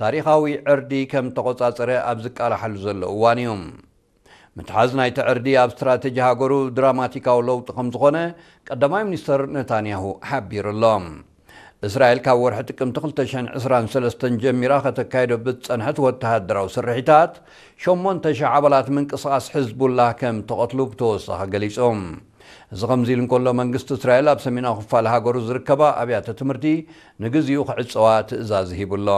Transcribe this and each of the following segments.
ታሪኻዊ ዕርዲ ከም ተቖጻጸረ ኣብ ዝቃላሓሉ ዘሎ እዋን እዩ። ምትሓዝ ናይቲ ዕርዲ ኣብ ስትራተጂ ሃገሩ ድራማቲካዊ ለውጢ ከም ዝኾነ ቀዳማይ ሚኒስተር ነታንያሁ ሓቢሩ ኣሎ። እስራኤል ካብ ወርሒ ጥቅምቲ ክልተ ሽሕን ዕስራን ሰለስተን ጀሚራ ከተካይዶ ብዝጸንሐት ወተሃደራዊ ስርሒታት፣ ሸሞንተ ሽሕ ኣባላት ምንቅስቓስ ሕዝቡላህ ከም ተቐትሉ ብተወሳኺ ገሊጹ። እዚ ከምዚ ኢሉ እንከሎ፣ መንግስቲ እስራኤል ኣብ ሰሜናዊ ክፋል ሃገሩ ዝርከባ ኣብያተ ትምህርቲ ንግዚኡ ክዕጸዋ ትእዛዝ ሂቡ ኣሎ።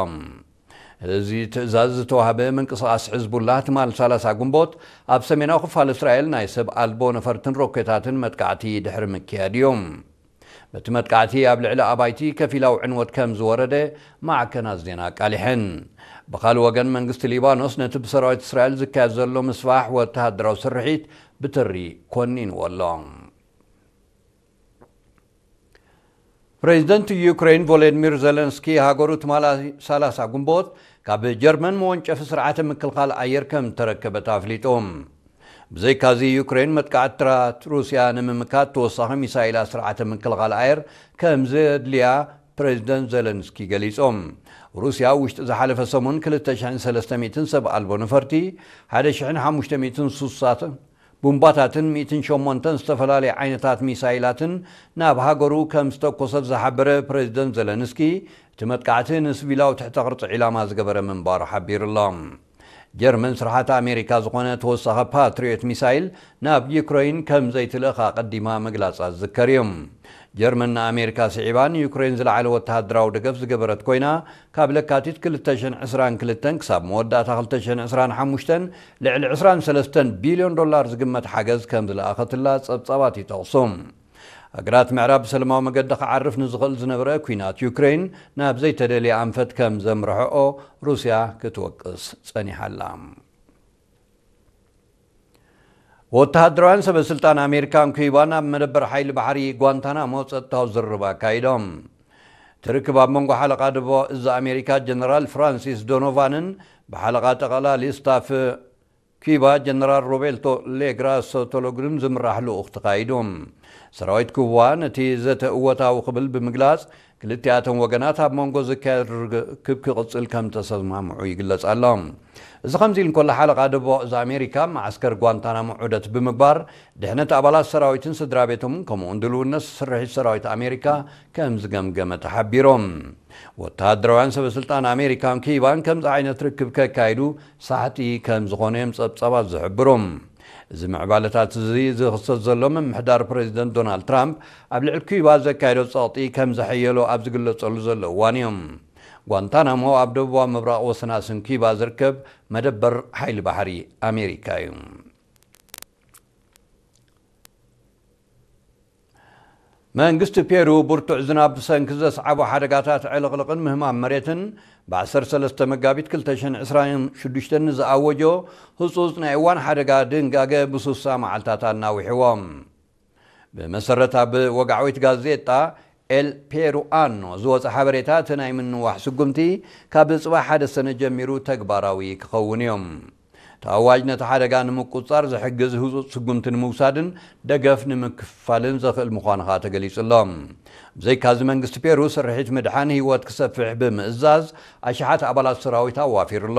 እዚ ትእዛዝ ዝተዋህበ ምንቅስቓስ ሕዝቡላህ ትማል ሰላሳ ግንቦት ኣብ ሰሜናዊ ክፋል እስራኤል ናይ ሰብ ኣልቦ ነፈርትን ሮኬታትን መጥቃዕቲ ድሕሪ ምክያድ እዩ። በቲ መጥቃዕቲ ኣብ ልዕሊ ኣባይቲ ከፊላዊ ዕንወት ከም ዝወረደ ማዕከናት ዜና ኣቃሊሐን። ብኻልእ ወገን መንግስቲ ሊባኖስ ነቲ ብሰራዊት እስራኤል ዝካየድ ዘሎ ምስፋሕ ወተሃደራዊ ስርሒት ብትሪ ኮኒንዎ ኣሎ። ፕሬዚደንት ዩክሬን ቮሎዲሚር ዜለንስኪ ሃገሩ ትማሊ ሰላሳ ግንቦት ካብ ጀርመን መወንጨፊ ስርዓተ ምክልኻል ኣየር ከም ተረከበት ኣፍሊጡ። ብዘይካዚ ዩክሬን መጥቃዕትታት ሩስያ ንምምካት ተወሳኺ ሚሳይላት ስርዓተ ምክልኻል ኣየር ከም ዘድልያ ፕሬዚደንት ዜለንስኪ ገሊጾም። ሩስያ ውሽጢ ዝሓለፈ ሰሙን ክልተ ሽሕን ሰለስተ ሚእትን ሰብ ኣልቦ ነፈርቲ፣ ሓደ ሽሕን ሓሙሽተ ሚእትን ሱሳት ቡምባታትን ሚእትን ሸሞንተን ዝተፈላለዩ ዓይነታት ሚሳይላትን ናብ ሃገሩ ከም ዝተኮሰት ዝሓበረ ፕሬዚደንት ዘለንስኪ፣ እቲ መጥቃዕቲ ንስቪላዊ ትሕተ ቅርጺ ዒላማ ዝገበረ ምንባሩ ሓቢሩ ኣሎ። ጀርመን ስርሓት ኣሜሪካ ዝኾነ ተወሳኺ ፓትሪዮት ሚሳይል ናብ ዩክረይን ከም ዘይትልእኽ ኣቐዲማ ምግላጻ ዝዝከር እዩ። ጀርመን ንኣሜሪካ ስዒባ ንዩክሬን ዝለዓለ ወተሃደራዊ ደገፍ ዝገበረት ኮይና፣ ካብ ለካቲት ክልተ ሽሕን ዕስራን ክልተን ክሳብ መወዳእታ ክልተ ሽሕን ዕስራን ሓሙሽተን ልዕሊ ዕስራን ሰለስተን ቢልዮን ዶላር ዝግመት ሓገዝ ከም ዝለኣኸትላ ጸብጻባት ይጠቕሱ። ሃገራት ምዕራብ ብሰላማዊ መገዲ ክዓርፍ ንዝኽእል ዝነበረ ኲናት ዩክሬን ናብ ዘይተደልየ ኣንፈት ከም ዘምርሕኦ ሩስያ ክትወቅስ ጸኒሓ ኣላ። ወተሃደራውያን ሰበ ስልጣን ኣሜሪካን ኩባን ኣብ መደበር ሓይሊ ባሕሪ ጓንታናሞ ጸጥታዊ ዝርርብ ኣካይዶም። እቲ ርክብ ኣብ መንጎ ሓለቓ ደቡባዊ እዝ ኣሜሪካ ጀነራል ፍራንሲስ ዶኖቫንን ብሓለቓ ጠቕላሊ ስታፍ ኪባ ጀነራል ሮቤርቶ ሌግራሶ ቶሎግሪም ዝምራሕ ልኡኽ ተኻይዱ። ሰራዊት ኩባ ነቲ ዘተ እወታዊ ክብል ብምግላጽ፣ ክልቲኣተን ወገናት ኣብ መንጎ ዝካየድ ርክብ ክቕጽል ከም ተሰማምዑ ይግለጽ ኣሎ። እዚ ከምዚ ኢሉ እንከሎ፣ ሓለቓ ደቡባዊ እዝ ኣሜሪካ፣ መዓስከር ጓንታናሞ ዑደት ብምግባር፣ ድሕነት ኣባላት ሰራዊትን ስድራ ቤቶምን ከምኡውን ድልውነት ስርሒት ሰራዊት ኣሜሪካ ከም ዝገምገመ ተሓቢሮም። ወተሃደራውያን ሰበ ስልጣን ኣሜሪካን ኪባን ከምዚ ዓይነት ርክብ ከካይዱ ሳሕቲ ከም ዝኾነ እዮም ጸብጻባት ዝሕብሩ። እዚ ምዕባለታት እዚ ዝኽሰት ዘሎ፣ ምምሕዳር ፕሬዚደንት ዶናልድ ትራምፕ ኣብ ልዕሊ ኪባ ዘካየዶ ጸቕጢ ከም ዘሐየሎ ኣብ ዝግለጸሉ ዘሎ እዋን እዮም። ጓንታናሞ ኣብ ደቡባዊ ምብራቕ ወሰናስን ኪባ ዝርከብ መደበር ሓይሊ ባሕሪ ኣሜሪካ እዩ። መንግስቲ ፔሩ ብርቱዕ ዝናብ ብሰንኪ ዘስዓቦ ሓደጋታት ዕልቕልቕን ምህማም መሬትን፣ ብ ዓሰርተ ሰለስተ መጋቢት ክልተ ሽሕን ዕስራን ሽዱሽተን ንዝኣወጆ ህጹጽ ናይ እዋን ሓደጋ ድንጋገ ብሱሳ መዓልታት ኣናዊሕዎ። ብመሰረት ኣብ ወግዓዊት ጋዜጣ ኤል ፔሩኣኖ ዝወጸ ሓበሬታ፣ እቲ ናይ ምንዋሕ ስጉምቲ ካብ ጽባሕ ሓደ ሰነ ጀሚሩ ተግባራዊ ክኸውን እዩ። እቲ ኣዋጅ ነቲ ሓደጋ ንምቁጽጻር ዝሕግዝ ህጹጽ ስጉምቲ ንምውሳድን ደገፍ ንምክፋልን ዘኽእል ምዃኑ ኸኣ ተገሊጹ ኣሎ። ብዘይካዚ፣ መንግስቲ ፔሩ ስርሒት ምድሓን ህይወት ክሰፍሕ ብምእዛዝ፣ ኣሽሓት ኣባላት ሰራዊት ኣዋፊሩ ኣሎ።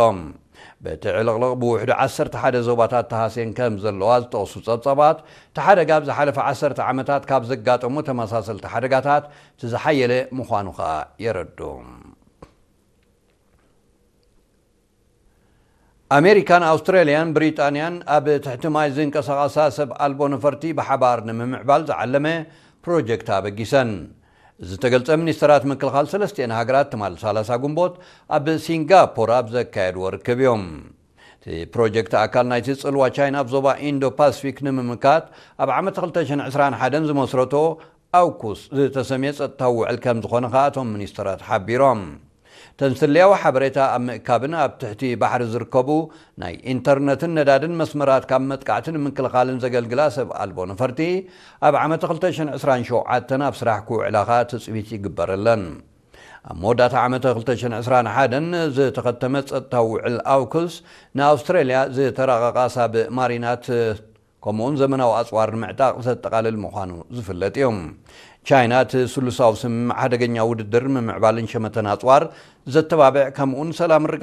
በቲ ዕልቕልቕ ብውሕዱ ዓሰርተ ሓደ ዞባታት ተሃስየን ከም ዘለዋ ዝጠቕሱ ጸብጻባት፣ እቲ ሓደጋ ኣብ ዝሓለፈ ዓሰርተ ዓመታት ካብ ዘጋጠሙ ተመሳሰልቲ ሓደጋታት እቲ ዝሓየለ ምዃኑ ኸኣ የረድኡ። ኣሜሪካን ኣውስትራልያን ብሪጣንያን ኣብ ትሕቲ ማይ ዝንቀሳቐሳ ሰብ ኣልቦ ነፈርቲ ብሓባር ንምምዕባል ዝዓለመ ፕሮጀክት ኣበጊሰን። እዚ ዝተገልጸ፣ ሚኒስተራት ምክልኻል ሰለስቲኤን ሃገራት ትማል ሰላሳ ግንቦት ኣብ ሲንጋፖር ኣብ ዘካየድዎ ርክብ እዮም። እቲ ፕሮጀክት ኣካል ናይቲ ጽልዋ ቻይና ኣብ ዞባ ኢንዶ ፓሲፊክ ንምምካት ኣብ ዓመት ክልተ ሽሕን ዕስራን ሓደን ዝመስረቶ ኣውኩስ ዝተሰምየ ጸጥታዊ ውዕል ከም ዝኾነ ከኣ እቶም ሚኒስተራት ሓቢሮም። እተን ስለያዊ ሓበሬታ ኣብ ምእካብን ኣብ ትሕቲ ባሕሪ ዝርከቡ ናይ ኢንተርነትን ነዳድን መስመራት ካብ መጥቃዕቲ ንምክልኻልን ዘገልግላ ሰብ ኣልቦ ነፈርቲ፣ ኣብ ዓመት ክልተ ሽሕን ዕስራን ሸውዓተን ኣብ ስራሕ ክውዕላ ከኣ ትጽቢት ይግበረለን። ኣብ መወዳእታ ዓመት ክልተ ሽሕን ዕስራን ሓደን ዝተኸተመ ጸጥታዊ ውዕል ኣውኩስ፣ ንኣውስትራልያ ዝተራቐቓ ሳብ ማሪናት ከምኡውን ዘመናዊ ኣጽዋር ንምዕጣቕ ዘጠቓልል ምዃኑ ዝፍለጥ እዩ። ቻይና እቲ ስሉሳዊ ስምምዕ ሓደገኛ ውድድር ምምዕባልን ሸመተን ኣፅዋር ዘተባብዕ ከምኡን ሰላም